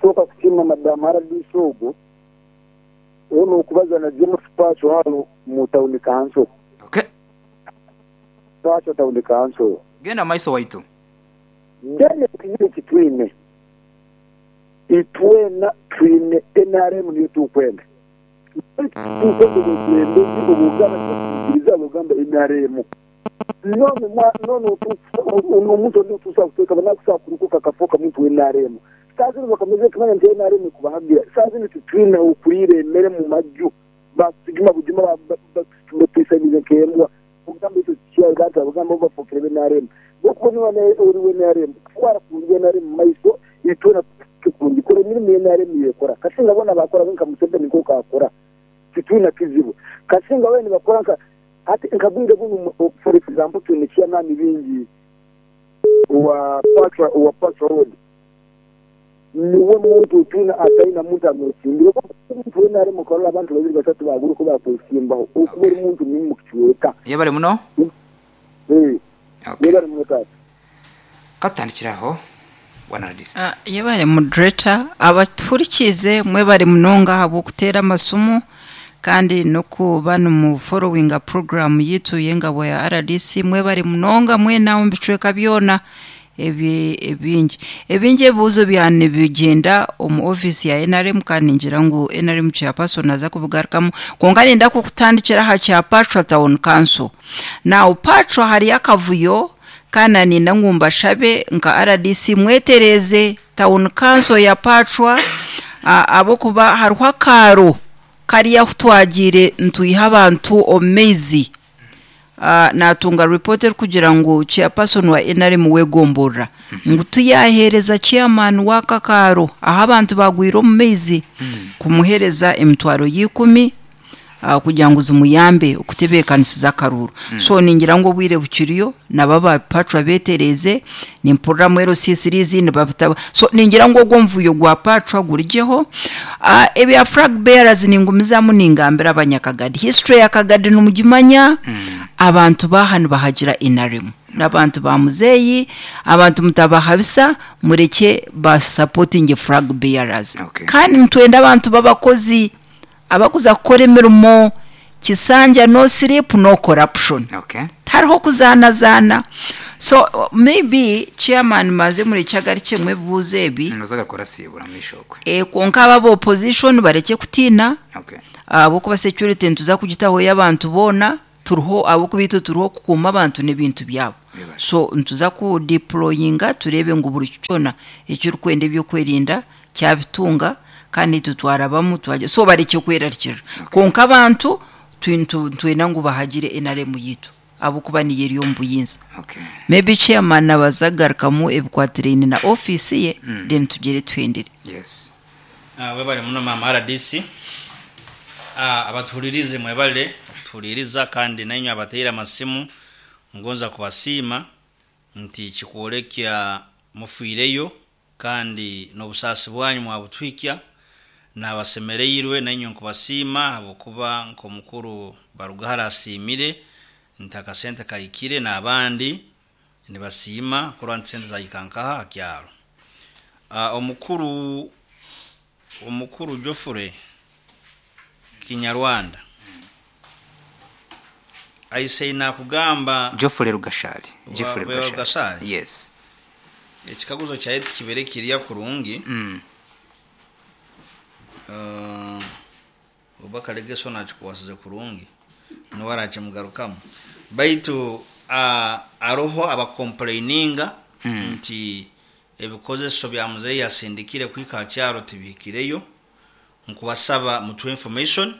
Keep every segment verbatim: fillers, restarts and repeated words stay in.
Kusooka kusiima Madamu R D C ogwo ono okubaza na James Pacho hano mu town council. Okay. Pacho Town Council. Genda maiso waitu. Then ekizibu kitwine, itwena twine N R M, niyo tukwenda. Tukwenda obukulembezi obugamba tibakuikiriza bugamba N R M. None none omuntu ondi otuusa kuteeka banakusobola kurukuka akafuuka muntu wa N R M. Saa zino bakamaze kumanya nti N R M kubahagira. Saa zino titwine okuriira emmere mu majju, batujuma bujuma, batwisanize nk'embwa. Kugamba ekyo kikyaga bagamba bafuukire be N R M. Okuba niba ori wa N R M, kutwara kurungi N R M mu maiso, itwena tukurungi kora emirimu ya N R M yekora. Kasinga bona bakora nka Museveni nkoku akora, titwina kizibu. Kasinga we nibakora nka ati nkabwire bunu. For example, twine chairman bingi wa Pachwa wa Pachwa Road, niwe muntu twina ataina muntu amwesimbire. Omuntu wena ari mukarola abantu babiri basatu baguruko bakwesimbaho, okuba ori muntu mubi mukicweka. Yebale muno. Eh. Okay. Yebale muno tata. Katutandikiraho, bwana R D C. Ah, yebale moderator, abatuhurikize mwebale munonga ahabw'okuteera amasimu kandi n'okuba nimu followinga program yitu y'engabo ya R D C. Mwebale munonga mwena omu bicweka byona ebi ebingi ebingi. Ebibuuzo byanu nibigyenda omu ofiisi ya N R M kandi ningira ngu N R M chairperson aza kubigarukamu, kwonka ninda kukutandikira aha kya Pachwa Town Council. Now Pachwa hariyo akavuyo kandi ninda ngu mbashabe nka R D C mwetereze town council ya Pachwa, ahabw'okuba hariho akaaro kariya ahu twagiire nitwiha abantu omu maizi. uh, natunga report erikugira ngu chairperson wa N R M wegomborora ngu tuyaheereza chairman w'akakaaro aho abantu bagwire omu maizi kumuheereza emitwaro y'ikumi uh, kugira ngu zimuyambe okutebeekanisiza akaruuru. So ningira ngu obwire bukiriyo nabo abapachwa betereze. Nimpuriramu L C threes nibabitaba, so ningira ngu ogwo omuvuyo gwa Pachwa gurigyeho. uh, ebya flag bearers, ningumizamu ningambira abanyakagadi, history ya Kagadi nimugimanya. Abantu baha nibahagira N R M n'abantu ba muzeeyi, abantu mutabahabisa, mureke basupportinge flag bearers. Okay. Kandi nitwenda abantu b'abakozi abakuza kukora emirimo. Kisanja no sleep, no corruption. Okay. Tariho kuzaanazaana. So maybe chairman maze murekye agarukye ebibuuzo ebi. Noza gakora sibura mu ishokwe. e, kwonka aba opposition bareke kutiina Okay. ahabwokuba security nituza kugitaho y'abantu boona. Turiho ahabwokuba itwe turiho kukuuma abantu n'ebintu byabo. Bibare. So nituza kudeployinga turebe ngu buri kyona ekirikwenda ebyokwerinda kyabitunga, kandi itwe twarabamu twajya, so bareke kwerarikirira. Kwonka abantu twi- tu- twenda ngu bahagire N R M yitu ahabwokuba niyo eri omu buyinza. Okay. Maybe chairman abaza kugarukamu ebikwatiraine na ofiisi ye, then tugere tuhendere. Yes. Ah, webale muno mama R D C. Ah, abatuhulirize mwebale okutuhuliriza, kandi nainywe abateire amasimu ngonza kubasiima nti kikwolekya mufiireyo kandi n'obusaasi bwanyu mwabutwikya nabasemereirwe. Nainywe nkubasiima habwokuba nk'omukuru Barugahara asiimire nti akasente kahikire, n'abandi nibasiima kurora nti sente zahika nkaha hakyaro. uh, omukuru omukuru Geoffrey Kinyarwanda aise nakugamba. Geoffrey Rugashali. Geoffrey Wa- Rugashali? Yes. Ekikaguzo kyaye tikibere kirya kurungi. Mm. uh, oba Kalegeso nakikwasize kurungi niwe arakimugarukamu, baitu uh, aroho abacomplaininga Mm. nti ebikozeso bya muzeeyi yasindikire kwika ha kyaro tibihikireyo. Nkubasaba mutuhe information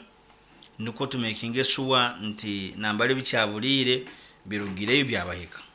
nikwo tumakinge sure nti nambali bikyaburiire birugireyo byabahika.